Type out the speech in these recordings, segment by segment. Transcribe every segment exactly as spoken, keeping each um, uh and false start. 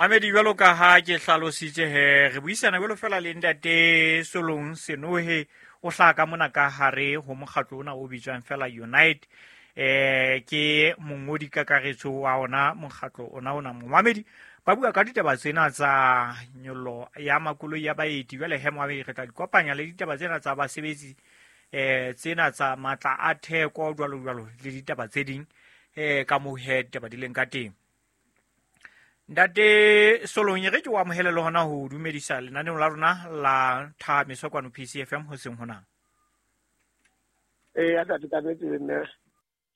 Mamedi, jwalo ka ha ke hlalositse he, re buisana jwalo fela le ntate Solong Senohe, o hlaha ka mona ka hare ho mokgatlo ona o bitswang fela Unite. Eh ke mongodi kakaretso wa ona mokgatlo ona ona. Momamedi, ba bua ka ditaba tsena tsa nyollo ya makoloi ya baeti. Jwale he momamedi, re tla di kopanya le ditaba tsena tsa basebetsi, eh tsena tsa matla a theko jwalo jwalo le ditaba tse ding, eh ka moo he ditaba di leng ka teng. Ntate Solong, re ke o amohele le hona ho dumedisa lenaneong la rona la Thahamiso kwano P C F M hoseng hona. Eh, ntate, ka nnete le nna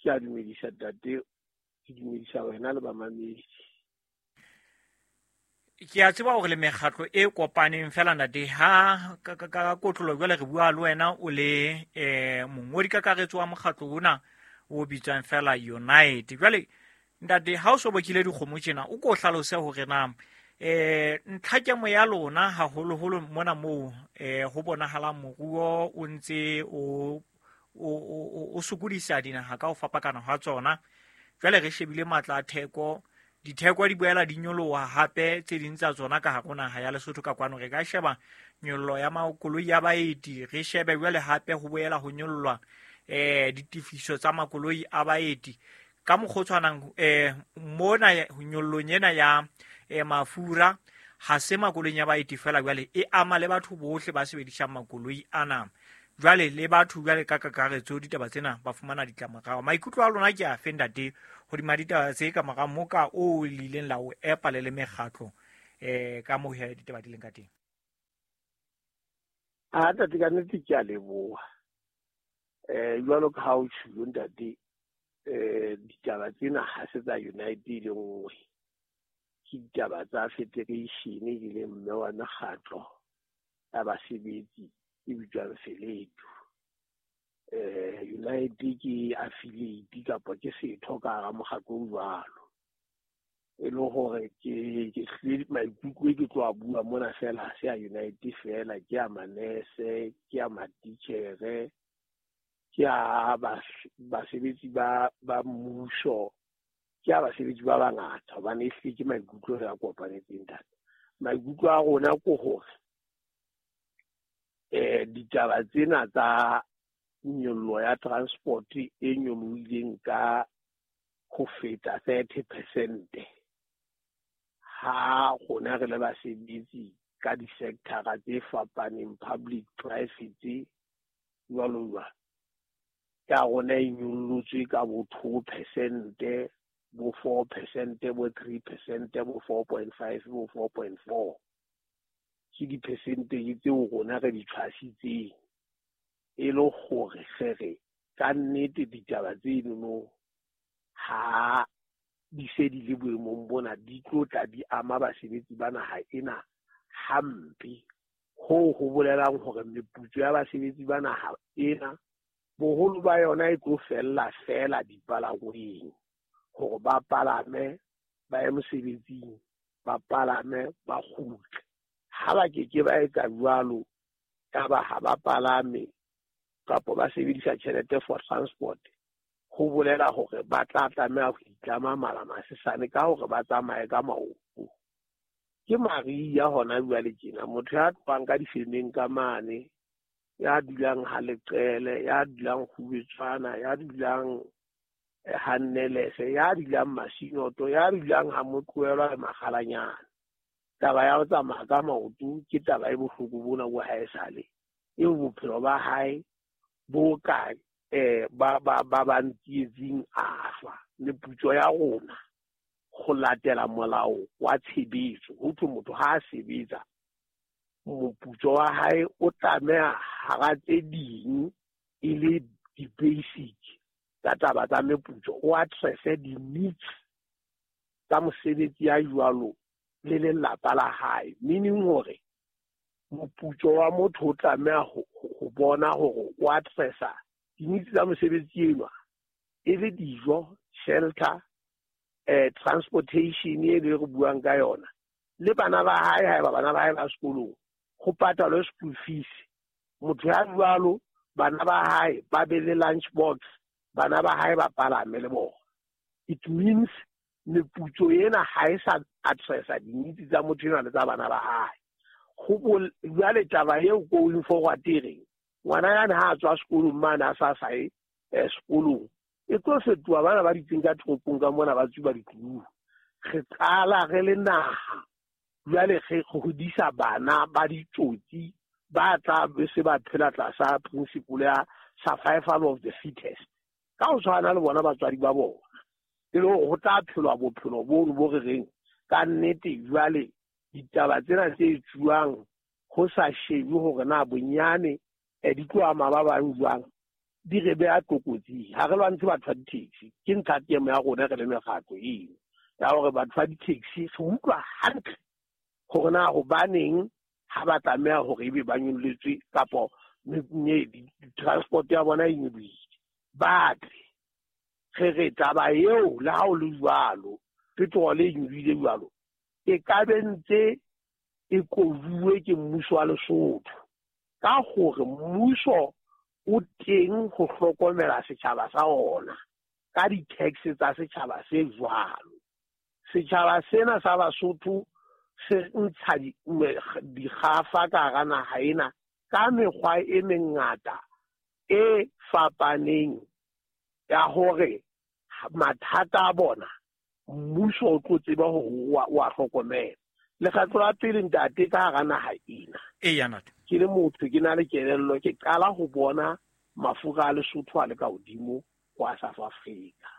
ke a dumedisa ntate, ke dumedisa wena le bamamedi. Ke a tseba hore le mekgatlo e kopaneng fela ntate, ha ka, ka, ka kotlolo jwale re bua le wena o le, eh, mongodi kakaretso wa mokgatlo ona o bitswang fela Unite. Jwale ntate, ha o so bokile dikgomo tjena, o ko hlalose hore na, eh, ntlhakemo ya lona haholoholo mona moo, eh, ho bonahalang moruo o ntse o, o, o, o sokodisa dinaha ka ho fapakana hwa tsona. Jwale re shebile matla a theko, ditheko di boela di nyoloha hape tse ding tsa tsona ka hare ho naha ya Lesotho ka kwano. Re ka sheba nyollo ya makoloi ya baeti, re shebe jwale hape ho boela ho nyollwa, eh, ditefiso tsa makoloi a baeti. Ka mokgwa o tshwanang, eh, mona nyollong ena ya, eh, mafura ha se makoloing ya baeti fela, jwale e ama le batho bohle ba sebedisang makoloi ana. Jwale le batho jwale ka kakaretso ditaba tsena ba fumana ditlamorao. Maikutlo a lona ke afe ntate hodima ditaba tse ka mora moka o le ileng la o epa le le mekgatlo, eh, ka moo he ditaba di leng ka teng? A ntate, ka nnete ke a leboha. Eh, jwalo ka ha o tjhulo ntate, eh, ditaba tsena ha se tsa Unite e le nngwe, ke ditaba tsa federation e leng mme wa mekgatlo ya basebetsi e bitswang Feletu. Eh, Unite ke affiliate kapa ke setho ka hara mokgatlo o jwalo. E le hore ke, ke hlile maikutlo e ke tlo a bua mona fela, ha se a Unite fela, ke a manese, ke a matitjhere, ke a bas-, basebetsi ba, ba mmuso, ke a basebetsi ba bangata, hobane ehlile ke maikutlo re a kopanetseng ntate. Maikutlo a rona ke hore, eh, ditaba tsena tsa nyollo ya transport e nyolohileng ka ho feta thirty percent, ha rona re le basebetsi ka di-sector-a tse fapaneng, public, private, jwalo jwalo, ya rona e nyollotswe ka bo two percent, bo four percent, bo three percent, bo four point five, bo four point four. Ke di-percentage tseo rona re di tshwasitseng e le hore re re ka nnete ditaba tsenono ha di se di le boemong bona di tlo tla di ama basebetsi ba naha ena hampe. Hoo ho bolelang hore meputso ya basebetsi ba naha ena boholo ba yona e tlo fella fela dipalangweng, hore ba palame ba ye mosebetsing, ba palame ba kgutle. Ha ba ke ke ba etsa jwalo, ya ba ha ba palame kapa ba sebedisa tjhelete for transport, ho bolela hore ba tla tlameha ho itlama mala masesane ka hore ba tsamaye ka maoto. Ke mariha hona jwale tjena, motho ya tlohang ka difemeng ka mane, ya dulang ha Leqele, ya dulang Kgubetswana, ya dulang ha Nnelese, ya dulang Masinoto, ya dulang ha Motlohelwa le Makgalanyana. Taba ya ho tsamaya ka maoto ke taba e bohloko bona bo haesale, eo bophelo ba hae bo ka, eh, ba, ba, ba ba ntsietsing a shwa. Meputso ya rona ho latela molao wa tshebetso, ho thwe motho ha a sebetsa moputso wa hae o tlameha hara tse ding e le di-basic tsa taba tsa meputso, o address-e di-needs tsa mosebetsi ya jwalo le lelapa la hae. Meaning hore moputso wa motho o tlameha ho, ho bona hore o address-a di-needs tsa mosebetsi enwa, e le dijo, shelter, eh, transportation e le re buang ka yona, le bana ba hae, haeba bana ba hae ba sekolong, ho patalwe school fees. Motho ya jwalo, bana ba hae ba be le lunch box, bana ba hae ba palame le bona. It means Meputso ena ha e sa addressa di-needs tsa motho enwa le tsa bana ba hae. Go jwale taba eo going forward e reng ngwana yane ha a tswa sekolong mane a sa sae sekolong e tlo fetoha bana ba ditseng ka toropong ka mona ba tsuba ditlou. Re qala re le naha jwale re hodisa bana ba ditsotsi ba tla be se ba phela tlasa principle ya survival of the fittest. Ka ho tshwana le bona batswadi ba bona e le hore ho tla phelwa bophelo bono bo re reng ka nnete jwale ditaba tsena tse etsuwang ho sa shebe hore na bonyane di tlo ama ba bang jwang di re beha tlokotsing. Ha re lwantshe batho ba di-taxi, ke ntlha temo ya rona re le mekgatlo eno ya hore batho ba di-taxi re utlwa hantle hore na hobaneng ha ba tlameha hore ebe ba nyolletswe kapo transport ya bona e nyolohile. Ba tle re re taba eo le ha o le jwalo petrol e nyolohile jwalo e ka be ntse e kobuwe ke mmuso wa Lesotho ka hore mmuso o teng ho hlokomela setjhaba sa ona ka di-tax tsa setjhaba se jwalo. Setjhaba sena sa Basotho se ntsha dikgafa ka hara naha ena ka mekgwa e mengata e fapaneng ya hore mathata a bona mmuso o tlo tseba hore o a hlokomela. Lekgetlo la pele ntate ka hara naha ena eya ntate ke le motho ke na le kelello ke qala ho bona mafura a Lesotho a le ka hodimo ho a South Africa.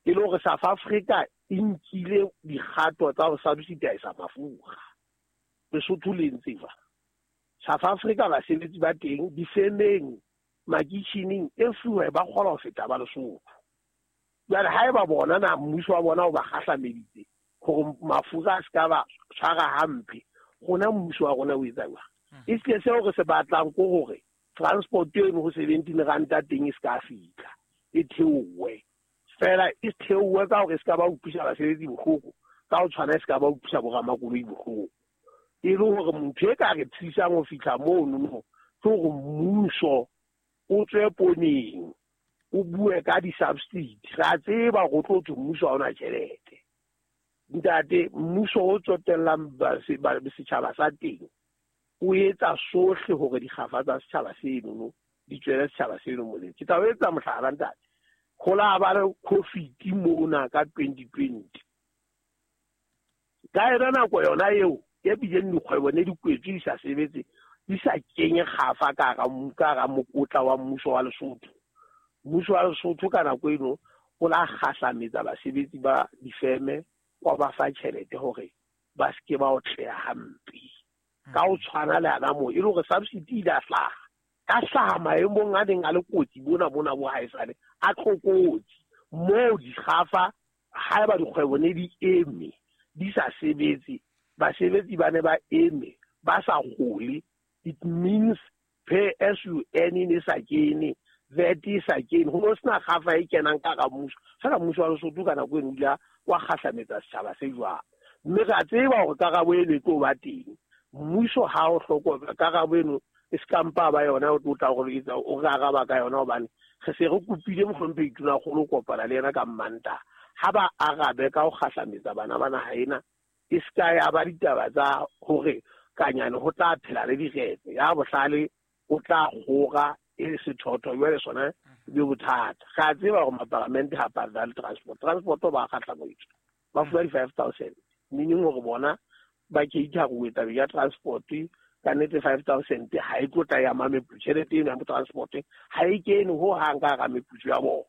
E le hore South Africa e nkile dikgato tsa ho subsidize mafura. Lesotho le ntse jwang? South Africa basebetsi ba teng difemeng makitjhining everywhere ba kgona ho feta ba Lesotho. Jwale haeba bona na mmuso wa bona o ba kgahlameditse hore mafura a se ka ba tshwara hampe, rona mmuso wa rona o etsa jwang? E se seo re se batlang ke hore transport eno ho seventeen ranta teng e se ka fihla e theowe fela, e theowe ka hore e se ka ba utlwisa basebetsi bohloko, ka ho tshwana e se ka ba utlwisa boramakoloi bohloko. E le hore motho e ka re thusang ho fihla mono no ke hore mmuso o tswe poneng o bue ka di-subsidy. Re a tseba hore o tlo thwe mmuso ha ona tjhelete. Ntate, mmuso o tsotellang setjhaba sa teng o etsa sohle hore dikgafa tsa setjhaba seno di tswele setjhaba seno molemo. Ke tla o etsa mohlala ntate. Ho la ba le COVID mona ka twenty twenty. Ka yona nako yona eo e bileng dikgwebo ne di kwetswe di sa sebetse, di sa kenye kgafa ka hara ka hara mokotla wa mmuso wa Lesotho. Mmuso wa Lesotho ka nako eno o la kgahlametsa basebetsi ba difeme wa ba fa tjhelete hore ba se ke ba otleha hampe. Ka ho tshwana le ana moo e le hore subsidy ile a hlaha ka hlaha maemong a neng a le kotsi bona bona bo haesale a tlokotsi moo dikgafa haeba dikgwebo ne di eme di sa sebetse, basebetsi ba ne ba eme ba sa kgole. It means pay as you earn e sa kene, V A T e sa kene, ho no sena kgafa e kenang ka hara mmuso. Fela mmuso wa Lesotho ka nako eno o ile wa kgahlametsa setjhaba se jwalo. Mme re a tseba hore karabo eno e tlo ba teng. Mmuso ha o hlokomela karabo eno e se ka mpa ba yona o tlo tla hore etsa o re araba ka yona hobane re se re kopile mohlomphehi Tonakgolo ho kopana le yena ka Mmantaha. Ha ba arabe ka ho kgahlametsa bana ba naha ena e se ka ya ba ditaba tsa hore kanyane ho tla phela le diretse ya bohlale o tla kgora e sethotho jwale sona be bothata. Re a tseba hore maparamente ha patale transport, transport ba kgahlamoitswe ba fuwa di-five thousand meaning hore bona ba cater-uwe tabeng ya transport. Ka nnete five thousand ha e tlo tla ya ama meputso, tjhelete eno ya transport ha e kene ho hang ka hara meputso ya bona.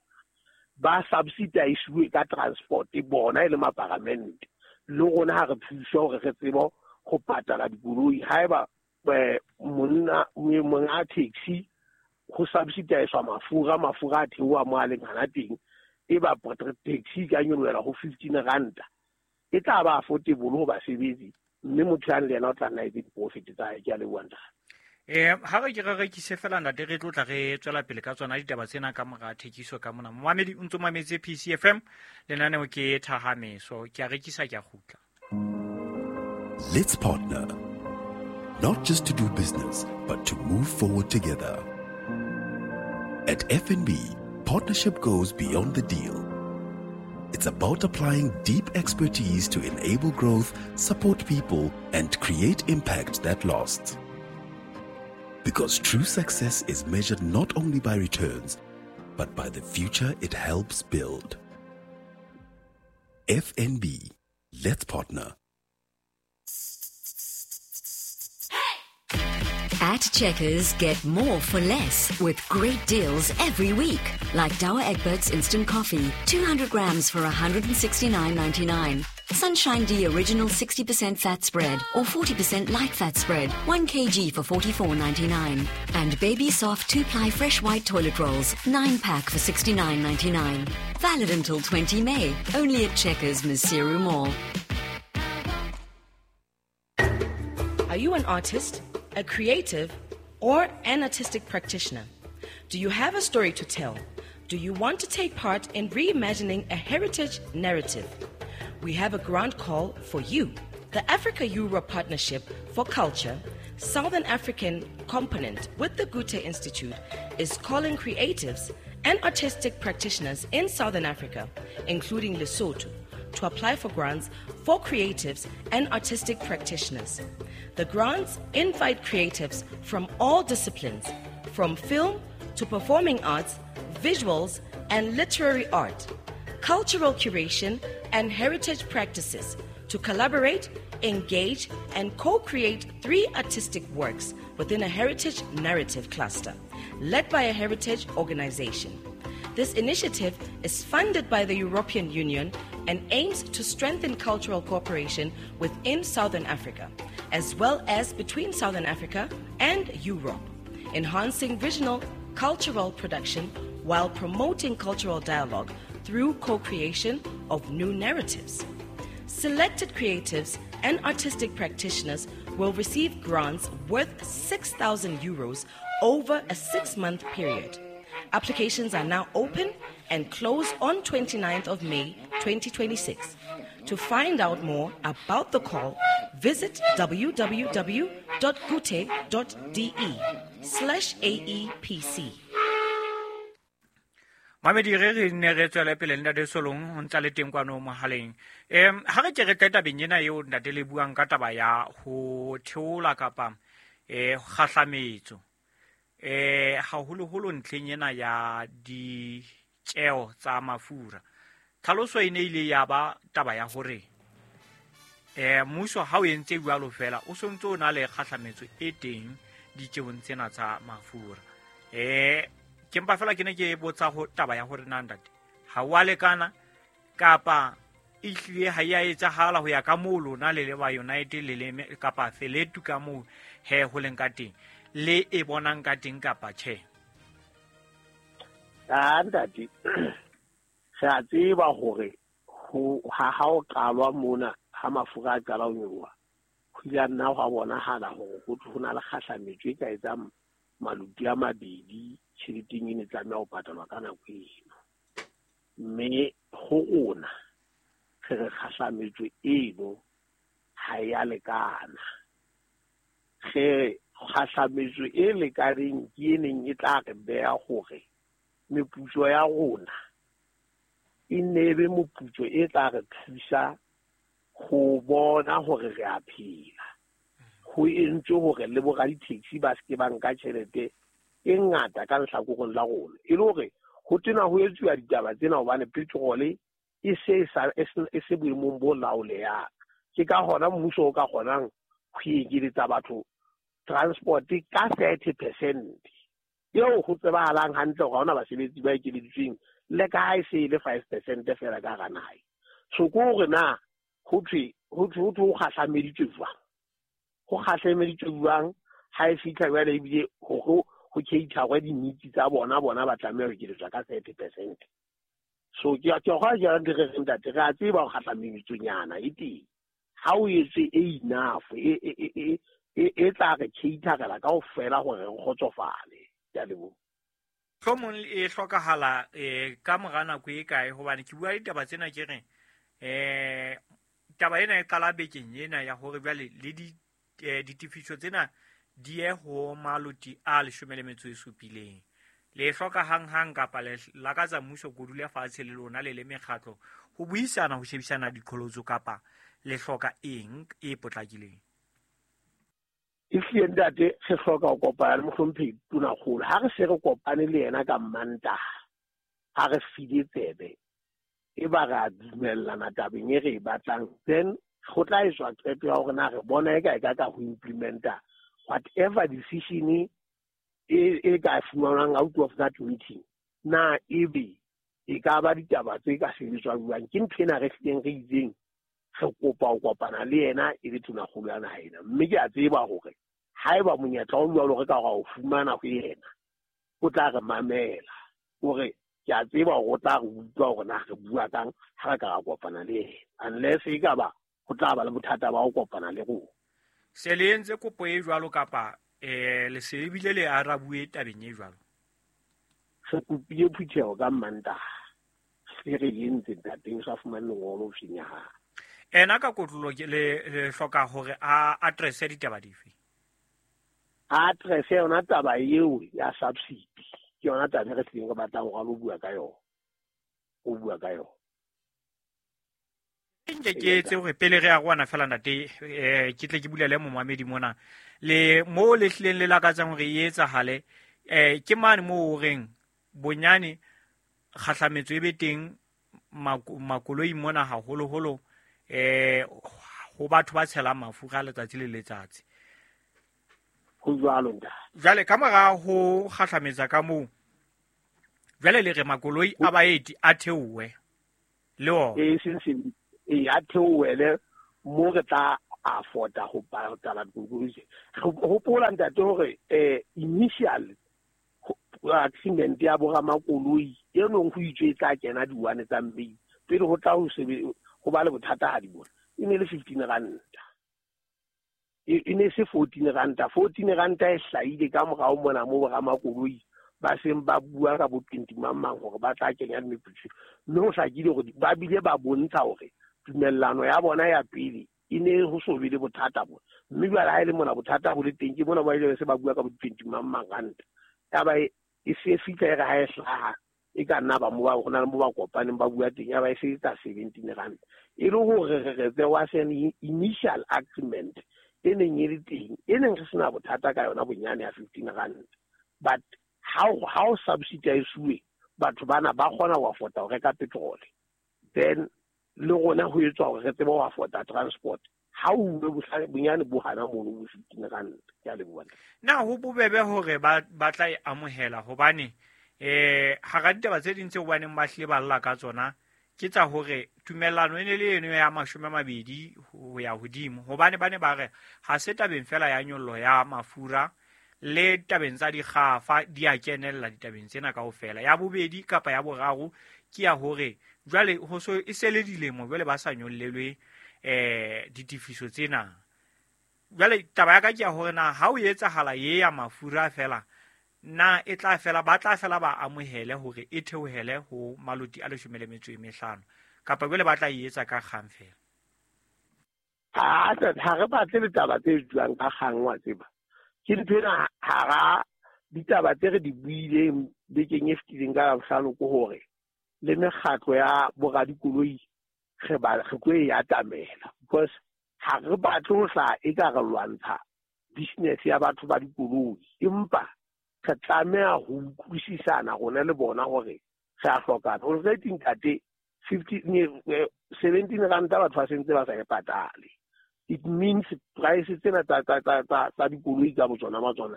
Ba subsidize ka transport bona e le maparamente le rona ha re thuswa hore re tsebe ho patala dikoloi. Haeba monna monga taxi ho subsidize mafura, mafura a theoha mo a leng hana teng, e ba taxi ka nyolohela ho fifteen ranta e tla ba affordable ho basebetsi, mme motho yang le yena o tla nna etse di-profit tsa hae. Ke a leboha ntate. Eh ha re ke re rekise fela ntate, re tlo tla re tswela pele ka tsona ditaba tsena ka mora thekiso ka mona. Momamedi o ntso mametse P C F M, lenaneo ke Thahameso. Ke a rekisa, ke a kgutla. Let's partner, not just to do business, but to move forward together. At F N B, partnership goes beyond the deal. It's about applying deep expertise to enable growth, support people, and create impact that lasts. Because true success is measured not only by returns, but by the future it helps build. F N B. Let's partner. At Checkers, get more for less with great deals every week. Like Douwe Egberts Instant Coffee, two hundred grams for one hundred sixty-nine ninety-nine. Sunshine D Original sixty percent fat spread or forty percent light fat spread, one kilogram for forty-four ninety-nine. And Baby Soft two-ply fresh white toilet rolls, nine pack for sixty-nine ninety-nine. Valid until twentieth of May, only at Checkers Maseru Mall. Are you an artist, a creative, or an artistic practitioner? Do you have a story to tell? Do you want to take part in reimagining a heritage narrative? We have a grant call for you. The Africa-Europe Partnership for Culture, Southern African component with the Goethe Institute, is calling creatives and artistic practitioners in Southern Africa, including Lesotho, to apply for grants for creatives and artistic practitioners. The grants invite creatives from all disciplines, from film to performing arts, visuals and literary art, cultural curation and heritage practices, to collaborate, engage and co-create three artistic works within a heritage narrative cluster, led by a heritage organization. This initiative is funded by the European Union and aims to strengthen cultural cooperation within Southern Africa, as well as between Southern Africa and Europe, enhancing regional cultural production while promoting cultural dialogue through co-creation of new narratives. Selected creatives and artistic practitioners will receive grants worth six thousand euros over a six-month period. Applications are now open and close on twenty-ninth of May twenty twenty-six. To find out more about the call, visit www.goethe.de slash A E P C. Mamedi re re ne re tswele pele ntate Solong ho ntsa le teng kwano mohaleng. Em ha re ke re tle tabeng ena eo ntate le buang ka taba ya ho theola kapa eh kgahlametso. Eh haholoholo ntlheng ena ya ditjeo tsa mafura. Tlhaloso e ne ile ya ba taba ya hore eh mmuso ha o entse jwalo fela o sontse o na le kgahlametso e teng ditjeong tsena tsa mafura. Eh ke mpa fela ke ne ke botsa ho taba ya hore na ntate ha wa lekana kapa e hlile ha ya etsahala ho ya ka moo lona le le ba United le le kapa Feletu ka moo he ho leng ka teng le e bonang ka teng kapa tjhe. Ah ntate, re a tseba hore ho ha ha o qalwa mona ha mafura a qala ho nyoloha, ho ile ha nna hwa bonahala hore ho ho na le kgahlametso e ka etsang maluti a mabedi tjheleteng e ne tlameha ho patalwa ka nako eno. Mme ho rona re re kgahlametso eno ha ya lekana. Re kgahlametso e lekaneng ke e neng e tla re beha hore meputso ya rona e nne be moputso e tla re thusa ho bona hore re a phela. Ho entswe hore le bo raditheksi ba se ke ba nka tjhelete e ngata ka lehlakoreng la rona, e le hore ho tena ho etsuwa ditaba tsena hobane petrol e se e se boemong bo laolehang. Ke ka hona mmuso o ka kgonang ho ekeletsa batho transport ka thirty percent eo ho tsebahalang hantle hore ha hona basebetsi ba ekeleditsweng le ka ha e se e le five percent fela ka hara naha. So ke hore na ho thwe ho thwe ho kgahlameditswe jwang, ho kgahlameditswe jwang ha e fihla jwale ebile ho ho cater di-needs tsa bona bona ba tlameha ho ekeletswa ka thirty percent. So ke ke hona jwang re re ntate re a tseba ho kgahlameditsonyana e teng ha o etse e enough e e e e tla re caterela kaofela hore re kgotsofale. Ke a leboha. Mohlomong e hlokahala eh ka mora nako e kae, hobane ke bua ditaba tsena ke re eh taba ena e qala bekeng ena ya hore jwale le di ditefiso tsena di ye ho maloti a leshome le metso e supileng. Le hloka hang-hang kapa le lakatsa mmuso ko dule fatshe le lona le le mekgatlo ho buisana ho shebisana diqholotso kapa le hloka eng e potlakileng? Ehlile ntate, re hloka ho kopana le mohlomphehi Tonakgolo. Ha re se re kopane le yena ka Mantaha, ha re file tsebe, e ba re a dumellana tabeng e re e batlang, then go tla etswa qeto ya hore na re bona e ka e ka ka ho implementa whatever decision e e ka fumanwang out of that meeting. Na ebe e ka ba ditaba tse ka sebetswang jwang? Ke ntho ena re hlileng re itseng re kopa ho kopana le yena e le Tonakgolo ya naha ena. Mme ke a tseba hore haeba monyetla o jwalo re ka ra o fumana ho yena, o tla re mamela. Hore ke a tseba hore o tla re utlwa hore na re bua kang ha re ka ra kopana le yena, unless e ka ba ho tla ba le bothata ba ho kopana le rona. Se le entse kopo e jwalo kapa eh le se ebile le arabuwe tabeng e jwalo? Re kopile phutheho ka Mantaha, se re entse ntate, o sa fumane lengolo ofising ya hae. Ena ka kotlolo le le hloka hore a address ditaba dife? A address yona taba eo ya subsidy, ke yona taba e re tlileng re batlang hore a lo bua ka yona, o bua ka yona. Nke ke etse hore pele re arohana fela ntate, eh ke tle ke bulele momamedi mona le mo le hlileng le lakatsang hore e etsahale, eh ke mane moo o reng bonyane kgahlametso e be teng makoloi mona haholoholo eh ho batho ba tshelang mafura letsatsi le letsatsi. Ho jwalo ntate. Jwale ka mora ho kgahlametsa ka moo, jwale le re makoloi a baeti a theowe le ona. E seng seng e a theowele mo re tla afforda ho patala dikoloi. Hopola ntate hore eh initial agreement ya boramakoloi e nong ho itswe e tla kena di-one tsa May pele ho tla ho sebe ho ba le bothata ha di bona, e ne le fifteen ranta, e ne se fourteen ranta. Fourteen ranta e hlahile ka morao mona mo boramakoloi ba seng ba bua ka bo twenty mang mang hore ba tla kenya meputso, mme ho hlakile hore ba bile ba bontsha hore tumellano ya bona ya pele e ne ho so be le bothata bona. Mme jwale ha e le mona bothata bo le teng, ke mona ba ile se ba bua ka bo twenty mang mang ranta. Ya ba e se fihla e re ha e hlaha e ka nna ba mo ba hona le mo ba kopaneng ba bua teng, ya ba e se etsa seventeen ranta. E le hore re re there was an initial agreement e neng e le teng, e neng re sena bothata ka yona bonyane ya fifteen ranta. But how how subsidize-uwe batho bana ba kgona ho afforda ho reka petrol, then le rona ho etswa hore re tsebe ho afforda transport. Ha o uwe bonyane bo hana mono bo fifteen ranta. Ke a leboha. Na ho bobebe hore ba ba tla e amohela hobane eh hara ditaba tse ding tseo baneng ba hlile ba lla ka tsona ke tsa hore tumellano e ne le eno ya mashome a mabedi ho ya hodimo, hobane ba ne ba re ha se tabeng fela ya nyollo ya mafura le tabeng tsa dikgafa di a kenella ditabeng tsena kaofela. Ya bobedi kapa ya boraro ke ya hore jwale ho so e se le dilemo jwale ba sa nyollelwe eh ditefiso tsena. Jwale taba ya ka ke ya hore na ha o etsahala ye ya mafura fela, na e tla fela ba tla fela ba amohele hore e theohele ho maloti a leshome le metso e mehlano, kapa jwale ba tla e etsa ka kgang fela? Ha ha re batle ditaba tse jwang ka kgang, wa tseba. Ke ntho ena hara ditaba tse re di buileng bekeng e fetileng ka Labohlano ke hore le mekgatlo ya boradikoloi re ba re tlo e atamela, because ha re batle ho hlaha e ka re lwantsha business ya batho ba dikoloi, empa re tlameha ho utlwisisana rona le bona hore re a hlokana. Already ntate fifteen seventeen ranta batho ba sentse ba sa e patale. It means price tsena tsa tsa tsa tsa dikoloi ka botsona ma tsona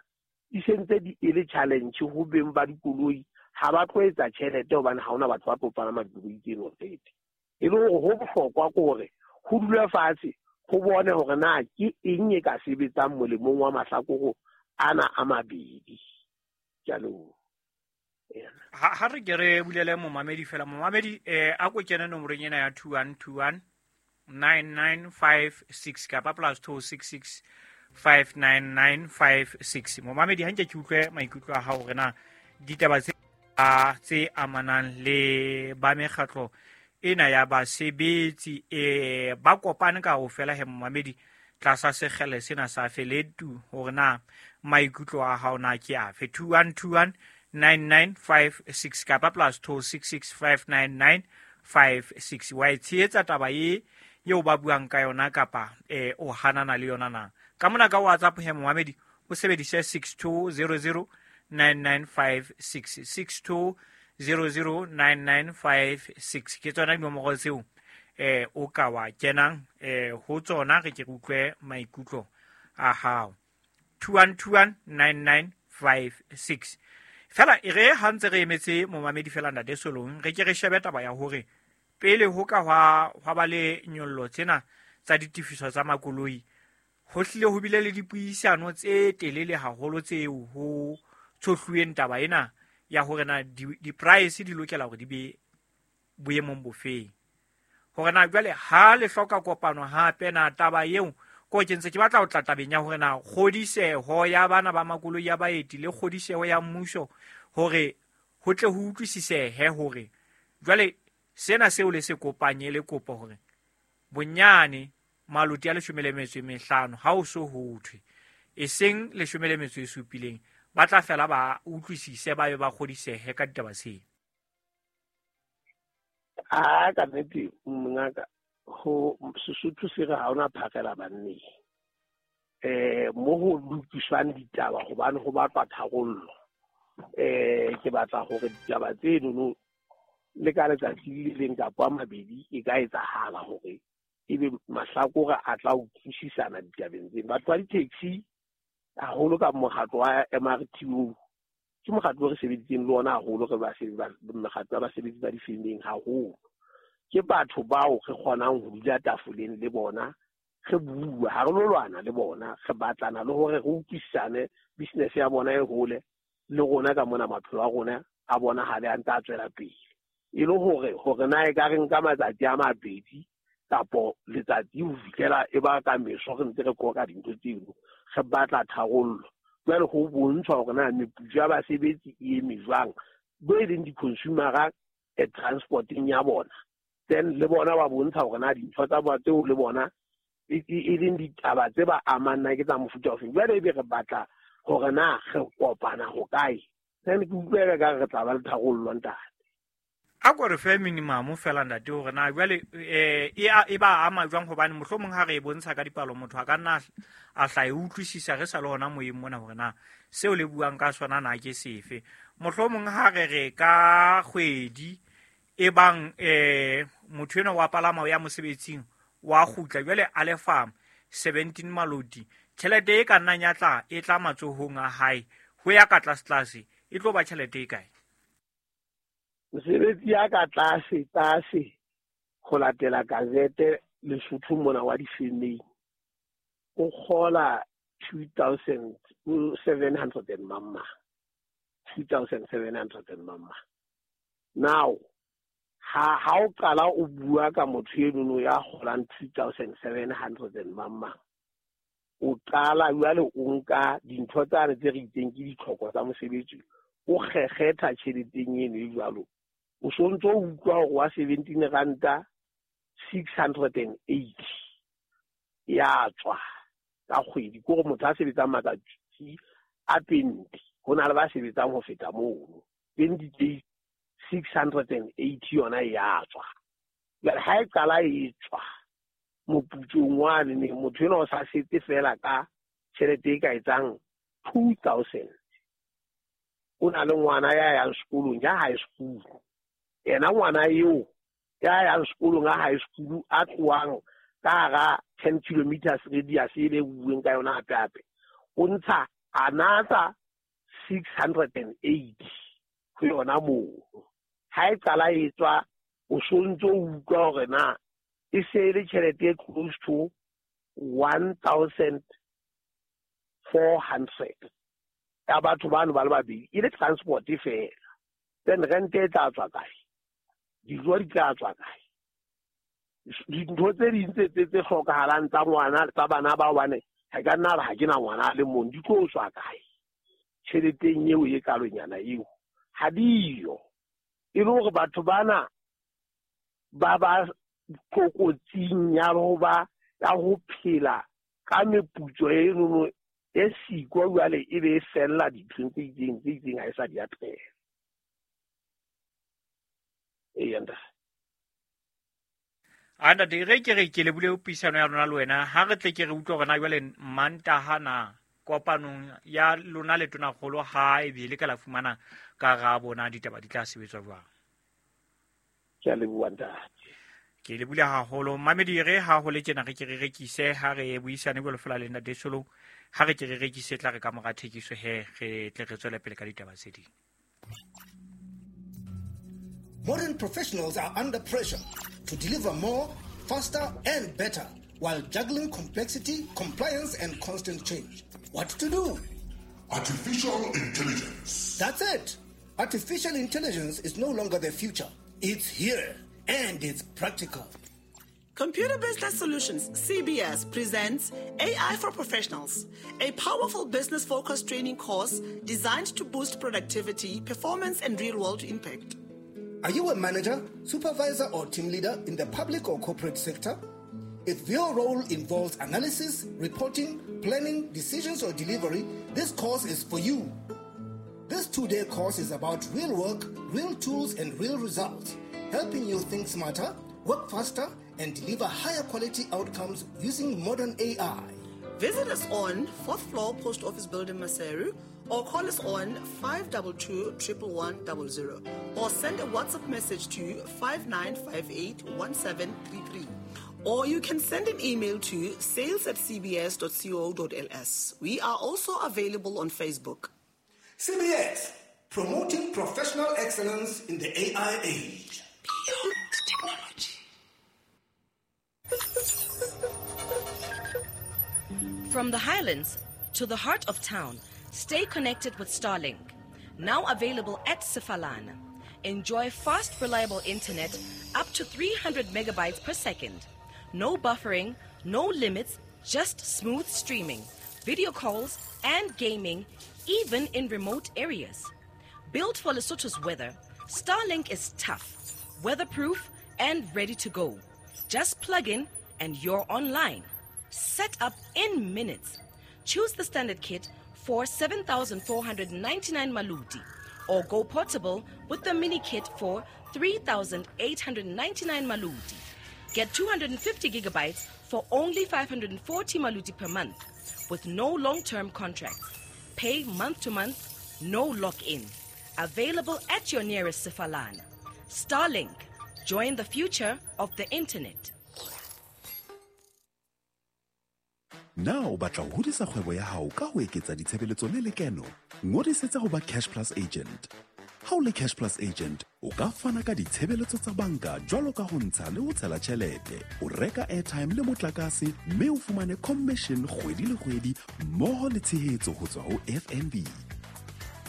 di sentse di e le challenge ho beng ba dikoloi. Ha ba tlo etsa tjhelete hobane ha hona batho ba tlo palama dikoloi tseno already. E le hore ho bohlokwa ke hore ho dule fatshe ho bone hore na ke eng e ka sebetsang molemong wa mahlakore ana a mabedi. Ke a leboha. Ha ha re ke re bulele momamedi fela, momamedi eh a ko kene nomorong ena ya two one two one nine nine five six kapa plus two six six five nine nine five six. Momamedi ha nke ke utlwe maikutlo a hao hore na ditaba tse tse amanang le ba mekgatlo ena ya basebetsi e ba kopane ka ho fela he momamedi tlasa sekgele sena sa feletu hore na maikutlo a hao na ke afe. Two one two one nine nine five six kapa plus two six six five nine nine five six. Wa e tshehetsa taba e eo ba buang ka yona kapa eh o hanana le yona na? Ka mona ka WhatsApp he momamedi o sebedise six two zero zero nine nine five six, six two zero zero nine nine five six. Ke tsona dinomoro tseo eh o ka wa kenang eh ho tsona, re ke re utlwe maikutlo a hao. two one two one nine nine five six. Fela e re ha ntse re emetse momamedi fela ntate Solong, re ke re shebe taba ya hore pele ho ka hwa hwa ba le nyollo tsena tsa ditefiso tsa makoloi, ho hlile ho bile le dipuisano tse telele haholo tseo ho tshohluweng taba ena ya hore na di-price di lokela hore di be boemong bofeng. Hore na jwale ha le hloka kopano hape na taba eo ko ke ntse ke batla ho tla tabeng ya hore na kgodiseho ya bana ba makoloi ya baeti le kgodiseho ya mmuso hore ho tle ho utlwisisehe hore jwale sena seo le se kopanye le kopo hore bonyane maloti a leshome le metso e mehlano ha o so ho thwe e seng leshome le metso e supileng, ba tla fela ba utlwisise ba be ba kgodisehe ka ditaba tseo. A ka nnete mongaka, ho Sesotho se re ha hona phakela banneng. Eh mo ho lokiswang ditaba hobane ho batlwa tharollo. Eh ke batla hore ditaba tseno le ka letsatsi le leng kapa a mabedi e ka etsahala hore ebe mahlakore a tla utlwisisana ditabeng tseno. Batho ba di-taxi haholo ka mokgatlo wa M R T O, ke mokgatlo o re sebeditseng le ona haholo, re mekgatlo ya basebetsi ba difemeng haholo. Ke batho bao re kgonang ho dula tafoleng le bona, re bua, ha re lo lwana le bona, re batlana le hore re utlwisisane, business ya bona e hole le rona ka mona maphelo a rona a bonahale a ntse a tswela pele. E le hore hore na e ka re nka matsatsi a mabedi kapo letsatsi ho fihlela e ba ka meso re ntse re qoqa dintho tseno, re batla tharollo. Jwale ho bontshwa hore na meputso ya basebetsi e eme jwang, bo e leng di-consumer-a e transporting ya bona. Then le bona ba bontsha hore na dintho tsa bona tseo le bona e leng ditaba tse ba amang na ke tsa mofuta ofeng. Jwale ebe re batla hore na re kopana ho kae, then ke utlwela ka re tla ba le tharollo ntate. A ko re fe minimum fela ntate hore na jwale eh e ba ama jwang, hobane mohlomong ha re e bontsha ka dipalo motho a ka nna a hla e utlwisisa re sa le hona moyeng mona hore na seo le buang ka sona na ke sefe. Mohlomong ha re re ka kgwedi e bang eh motho enwa wa palama o ya mosebetsing wa kgutla jwale a lefa seventeen maloti, tjhelete e ka nnang ya tla e tla matsohong a hae ho ya ka tlase tlase e tlo ba tjhelete e kae? Mosebetsi ya ka tlase tlase ho latela gazete Lesotho mona wa difemeng o kgola two thousand seven hundred and mama, two thousand seven hundred and mama. Now ha ha o qala o bua ka motho eno ya kgolang two thousand seven hundred and mama, o qala jwale o nka dintho tsane tse re itseng ke ditlhoko tsa mosebetsi, o kgekgetha tjheleteng eno e jwalo, o sontso o utlwa hore wa seventeen ranta six hundred and eighty ya tswa ka kgwedi. Ke hore motho a sebetsang matsatsi a twenty, ho na le ba sebetsang ho feta mono, twenty days six hundred and eighty yona e ya tswa. Jwale ha e qala e tswa moputsong wane, ne motho enwa o sa setse fela ka tjhelete e ka etsang two thousand. O na le ngwana ya yang sekolong ya high school, yena ngwana eo ya yang sekolong a high school a tlohang ka hara ten kilometers radius e le bueng ka yona hape hape, o ntsha another six hundred and eighty ho yona moo. Ha e qala e tswa o sontso o utlwa hore na e se le tjhelete e close to one thousand four hundred ya batho bano ba le babedi, e le transport fela. Then rent e tla tswa kae? Dijo di tla tswa kae? Dintho tse ding tse tse hlokahalang tsa ngwana tsa bana ba hobane ha ka nna ha ke na ngwana le mong, di tlo tswa kae? Tjheleteng eo e kalonyana eo ha diyo. E le hore batho bana ba ba tlokotsing ya ho ba ya ho phela ka meputso eno E siko jwale e be e fella dinthong tse itseng tse itseng ha e sa di atleha. Eya ntate. A ntate re ke re ke lebule puisano ya rona le wena ha re tle ke re utlwe hore na jwale Mantaha na kopanong ya lona le tonakgolo ha e be le ka la fumana karabo na ditaba di tla sebetswa jwang. Ke a leboha ntate. Ke lebule haholo mamedi re ha ho le tjena re ke re rekise ha re buisane jwalo fela le ntate Solo ha re ke re rekise tla re ka mora thekiso he re tle re tswele pele ka ditaba tse ding. Modern professionals are under pressure to deliver more, faster, and better while juggling complexity, compliance, and constant change. What to do? Artificial intelligence. That's it. Artificial intelligence is no longer the future. It's here, and it's practical. Computer Business Solutions, C B S, presents A I for Professionals, a powerful business-focused training course designed to boost productivity, performance, and real-world impact. Are you a manager, supervisor, or team leader in the public or corporate sector? If your role involves analysis, reporting, planning, decisions, or delivery, this course is for you. This two-day course is about real work, real tools, and real results, helping you think smarter, work faster, and deliver higher quality outcomes using modern A I. Visit us on fourth floor Post Office Building, Maseru, or call us on five two two, one one one zero, or send a WhatsApp message to five nine five eight, one seven three three. Or you can send an email to sales at c b s dot co dot l s. We are also available on Facebook. C B S, promoting professional excellence in the A I age. Beyond technology. From the highlands to the heart of town, stay connected with Starlink. Now available at Sefalana. Enjoy fast, reliable internet up to three hundred megabytes per second. No buffering, no limits, just smooth streaming, video calls, and gaming, even in remote areas. Built for Lesotho's weather, Starlink is tough, weatherproof, and ready to go. Just plug in and you're online. Set up in minutes. Choose the standard kit for seven thousand four hundred ninety-nine maluti, or go portable with the mini kit for three thousand eight hundred ninety-nine maluti. Get two hundred fifty gigabytes for only five hundred forty maluti per month, with no long-term contracts. Pay month to month, no lock-in. Available at your nearest Sefalana. Starlink, join the future of the internet. Na o batla ho hodisa kgwebo ya hao ka ho eketsa ditshebeletso le lekeno? Ngodisetsa ho ba Cash Plus agent. Ha o le Cash Plus agent, o ka fana ka ditshebeletso tsa banka jwalo ka ho ntsha le ho tshela tjhelete, o reka airtime le motlakase, mme o fumane commission kgwedi le kgwedi mmoho le tshehetso ho tswa ho F N B.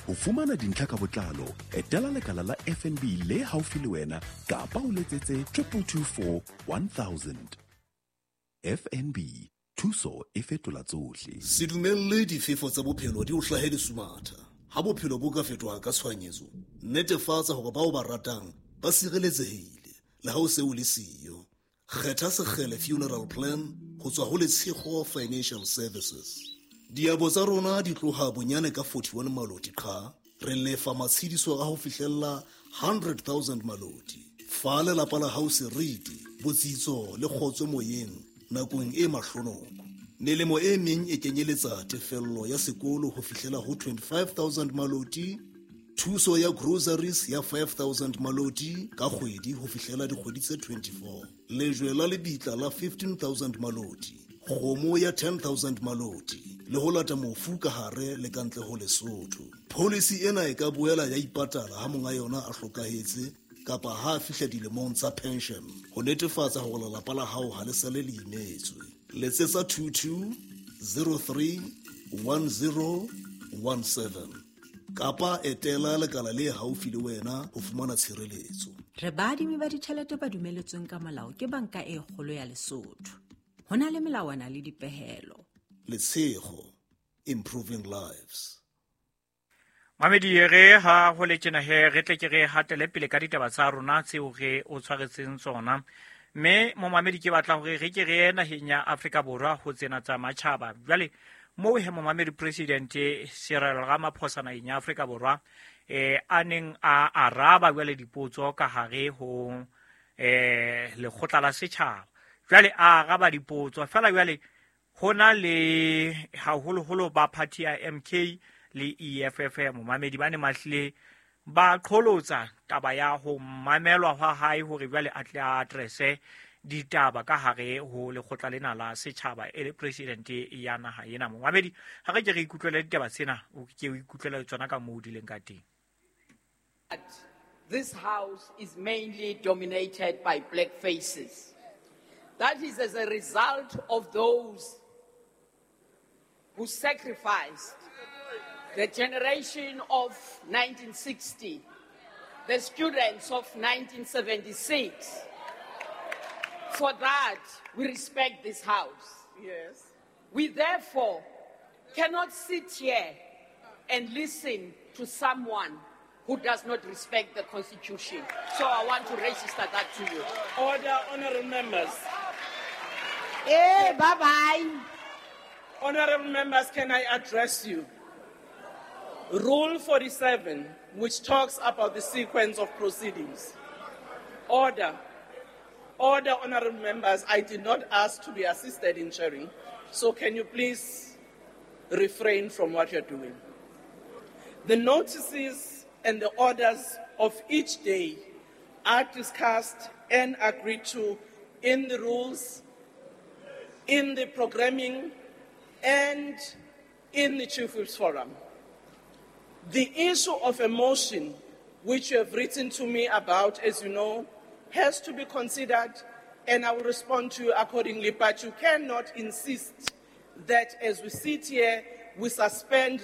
Ho fumana dintlha ka botlalo, etela lekala la F N B le haufi le wena kapa o letsetse triple two four one thousand. F N B, thuso e fetola tsohle. Se dumelle difefo tsa bophelo di o hlahe lesumatha. Ha bophelo bo ka fetoha ka tshohanyetso, netefatsa hore bao ba ratang ba sireletsehile le ha o se o le siyo. Kgetha Sekgele Funeral Plan ho tswa ho Letshego Financial Services. Diabo tsa rona di tloha bonyane ka forty-one maloti qha, re lefa matshediso a ho fihlella hundred thousand maloti. Fa lelapa la hao seriti, botsitso le kgotso moyeng nakong e mahlonoko. Melemo e meng e kenyeletsa tefello ya sekolo ho fihlela ho twenty-five thousand maloti, thuso ya groceries ya five thousand maloti ka kgwedi ho fihlela dikgwedi tse twenty-four, lejwe la lebitla la fifteen thousand maloti, kgomo ya ten thousand maloti, le ho lata mofu ka hare le ka ntle ho Lesotho. Policy ena e ka boela ya ipatala ha monga yona a hlokahetse kapa ha a fihla dilemong tsa pension, ho netefatsa hore lelapa la hao ha le sale le imetswe. Letsetsa two two zero three one zero one seven kapa etela lekala le haufi le wena ho fumana tshireletso. Re baadimi ba ditjhelete ba dumeletsweng ka molao ke banka e kgolo ya Lesotho. Ho na le melawana le dipehelo. Letshego, improving lives. Mamedi re ha ho le tjena he re tle ke re hatele pele ka ditaba tsa rona tseo re o tshwaretseng tsona. Mme momamedi ke batla hore re ke re ye naheng ya Afrika Borwa ho tsena tsa matjhaba. Jwale Moo he momamedi President Cyril Ramaphosa naheng ya Afrika Borwa eh a neng a araba jwale dipotso ka hare ho eh lekgotla la setjhaba. Jwale a araba dipotso fela jwale hona le haholoholo ba party ya M K le E F F momamedi ba ne mahlile ba qholotsa taba ya ho mamelwa hwa hae hore jwale a tle a addresse ditaba ka hare ho lekgotla lena la setjhaba e le president ya naha ena. Momamedi ha re ke re ikutlwele ditaba tsena, o ke o ikutlwele tsona ka moo di leng ka teng. This house is mainly dominated by black faces. That is as a result of those who sacrificed the generation of nineteen sixty, the students of nineteen seventy-six. For that, we respect this house. Yes. We therefore cannot sit here and listen to someone who does not respect the Constitution. So I want to register that to you. Order, honorable members. Hey, bye-bye. Honorable members, can I address you? Rule forty-seven, which talks about the sequence of proceedings. Order. Order, honorable members, I did not ask to be assisted in chairing, so can you please refrain from what you're doing? The notices and the orders of each day are discussed and agreed to in the rules, in the programming, and in the Chief Whips Forum. The issue of a motion, which you have written to me about, as you know, has to be considered, and I will respond to you accordingly. But you cannot insist that as we sit here, we suspend